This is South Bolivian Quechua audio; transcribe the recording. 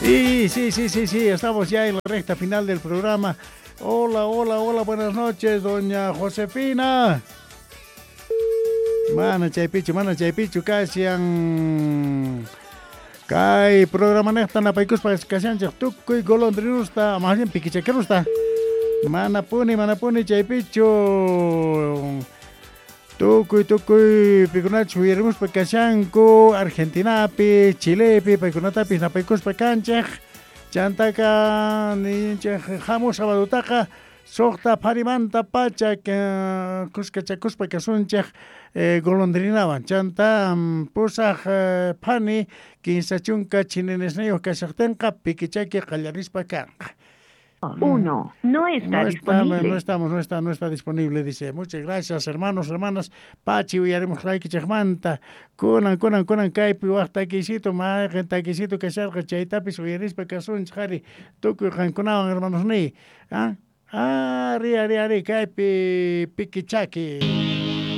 Y sí, estamos ya en la recta final del programa. Hola, hola, hola, buenas noches, doña Josefina. Mana chaypichu, mana chaypichu, kashan. Kay programanejta napaykuspa kashanchej tukuy golondrinusta, más bien piquichaquerusta. Manapuni, manapuni chaypichu. Tukuy, tukuy, pikunachus uyarimuspa kashanku, Argentinapi, Chilepi, paykunatapis napaykuspa kanchej. Chantaka ninchej hamuq sabadutaqa suqta pharimanta pacha kuskachakuspa kasunchej golondrinawan. Chanta pusaj phani 30 chinenesniyuq kashaqtinqa piquichaki qallarispa kanqa. 1. No está No está, disponible. no estamos, no está, no está disponible, dice. Muchas gracias, hermanos, hermanas. Pachi, uyarimus raykichejmanta. Kunan, kunan, kunan, kaypi waj takisito, mayqen takisito kasharqa, chaytapis uyarispa kasunchej, ari. Tukuy qankunawan, hermanos niy. ¿Ah? Ari, ari, ari, kaypi piquichaki.